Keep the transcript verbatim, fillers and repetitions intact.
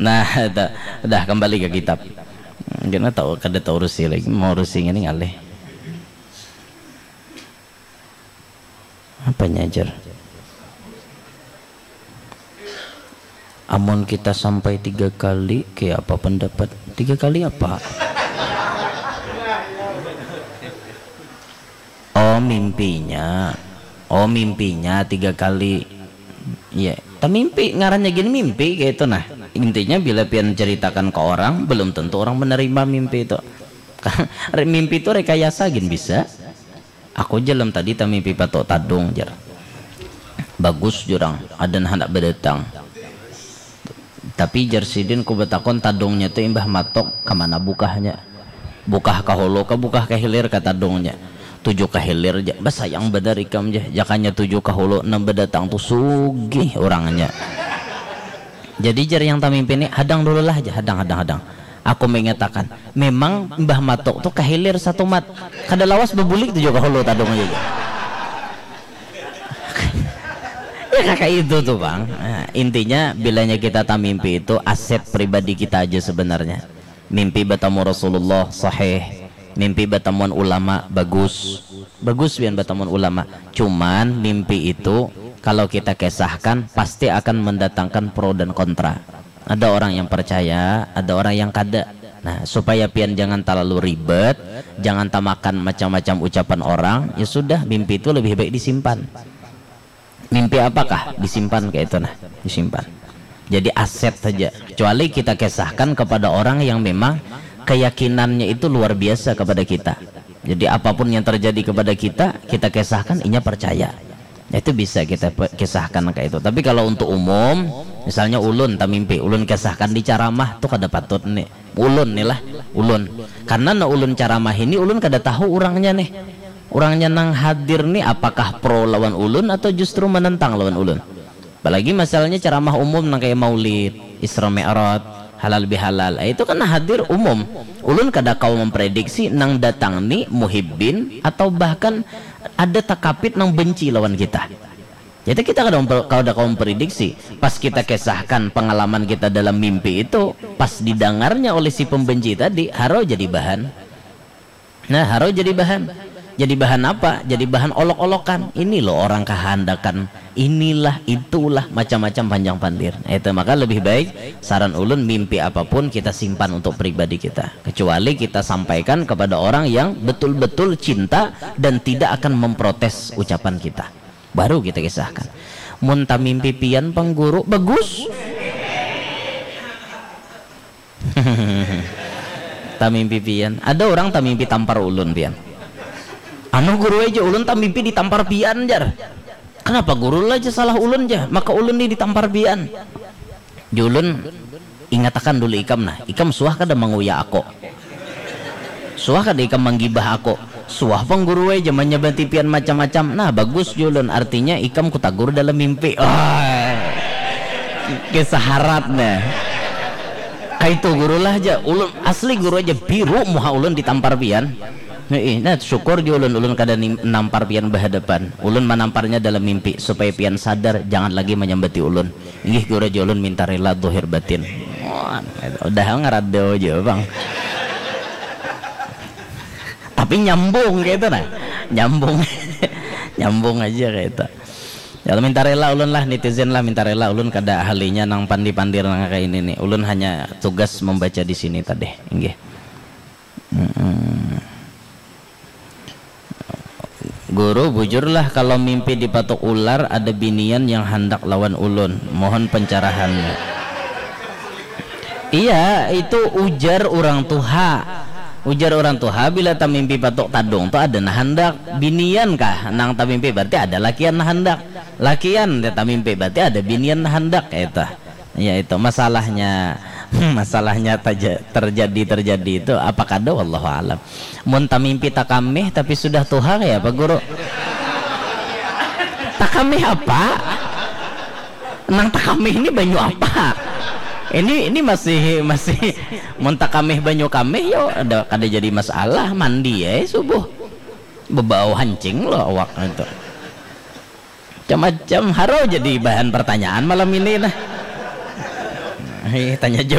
Nah, dah, dah kembali ke kitab. Kena tahu kada tahu urusi lagi, mau urusi ini ngalih. Apanya ajar? Amun kita sampai tiga kali, kayak apa pendapat? Tiga kali apa? Oh, mimpinya. Oh, mimpinya tiga kali. Iya, tamimpi, ngarannya gini mimpi kayak itu. Nah, intinya bila pian ceritakan ke orang, belum tentu orang menerima mimpi itu. Mimpi itu rekayasa gin bisa. Aku jalam tadi tamimpi patok tadung, jar. Bagus jurang, ada nah anak berdatang. Tapi jar sidin, ku betakon tadungnya tu imbah matok, kemana bukahnya? Bukah kahulu ke bukah kehilir ke tadungnya? Tujuh kehilir ja. Basayang benar ikam ja, jakanya tujuh kahulu, enam berdatang tu sugih orangnya. Jadi jar yang tamimpi ni, hadang dulu lah ja, hadang, hadang, hadang. Aku mengatakan, memang Mbah Matuk tu kahilir satu mat. Kada lawas bebulik tu juga hulu tadung aja. Ya kakak itu tuh bang. Nah, intinya bilanya kita tamimpi itu aset pribadi kita aja sebenarnya. Mimpi bertemu Rasulullah sahih, mimpi bertemuan ulama bagus, bagus bian bertemuan ulama. Cuman mimpi itu kalau kita kesahkan pasti akan mendatangkan pro dan kontra. Ada orang yang percaya, ada orang yang kada. Nah, supaya pian jangan terlalu ribet, jangan tamakan macam-macam ucapan orang, ya sudah, mimpi itu lebih baik disimpan. Mimpi apakah disimpan kayak itu, nah, disimpan. Jadi aset saja. Kecuali kita kesahkan kepada orang yang memang keyakinannya itu luar biasa kepada kita. Jadi apapun yang terjadi kepada kita, kita kesahkan, inya percaya. Itu bisa kita pe- kisahkan kayak itu. Tapi kalau untuk umum, misalnya ulun tamimpi, ulun kisahkan di ceramah tuh kada patut nih. Ulun nih lah, ulun. Karena na ulun ceramah ini ulun kada tahu orangnya nih. Orangnya nang hadir nih apakah pro lawan ulun atau justru menentang lawan ulun. Apalagi masalahnya ceramah umum nang kayak maulid, Isra Mi'raj, halal bihalal. Eh, itu kan hadir umum. Ulun kada kau memprediksi nang datang ni muhibbin atau bahkan ada takapit nang benci lawan kita. Jadi kita kada memper, kada kau memprediksi. Pas kita kesahkan pengalaman kita dalam mimpi itu, pas didengarnya oleh si pembenci tadi, haro jadi bahan. Nah, haro jadi bahan. Jadi bahan apa? Jadi bahan olok-olokan. Ini loh orang kahandakan. Inilah, itulah, macam-macam panjang pandir. Nah, itu maka lebih baik saran ulun mimpi apapun kita simpan untuk pribadi kita. Kecuali kita sampaikan kepada orang yang betul-betul cinta dan tidak akan memprotes ucapan kita. Baru kita kisahkan. Mun tamimpi pian pang guru, bagus. Tamimpi pian. Ada orang tamimpi tampar ulun pian. Anu guru aja ulun tamimpi ditampar pian jar. Kenapa guru lah aja salah ulun ja? Maka ulun ni ditampar pian. Julun, ingatakan dulu ikam nah, ikam suah kada manguya ako? Suah kada ikam manggibah ako? Suah pang guru ai jamannya batipian macam-macam. Nah, bagus julun, artinya ikam kutagur dalam mimpi. Wah, kisah harat nah. Kaitu guru lah ja, ulun asli guru aja biru muha ulun ditampar pian. Heeh, nah syukur di ulun, ulun kada nampar pian bahadapan. Ulun manamparnya dalam mimpi supaya pian sadar jangan lagi manyambati ulun. Inggih guru aja ulun minta rela dohir batin. Wah, udah ngarado aja bang. Tapi nyambung kayak itu nah. Nyambung. Nyambung aja kayak itu. Ya minta rela ulun lah, netizen lah minta rela ulun kada ahlinya nang pandi-pandir nang kayak ini nih. Ulun hanya tugas membaca di sini tadi. Inggih. Mm-mm. Guru, bujurlah kalau mimpi dipatuk ular ada binian yang handak lawan ulun. Mohon pencerahannya. Iya, itu ujar orang tuha. Ujar orang tuha bila tamimpi patuk tadung tu ada nah handak. Binian kah nang tamimpi berarti ada lakian nah handak. Lakian dia tamimpi berarti ada binian nah handak kayak itu. Ya itu masalahnya. Masalahnya taja- terjadi terjadi itu apa kada wallahu alam. Mun tamimpi takamih tapi sudah tuha kayak apa guru? Takamih apa? Nang takamih ini banyu apa? Ini ini masih masih mun takamih banyu kamih yo ada kada jadi masalah mandi ya subuh bebau hancing lo awak itu. Macam-macam haro jadi bahan pertanyaan malam ini nah. Ai, tanya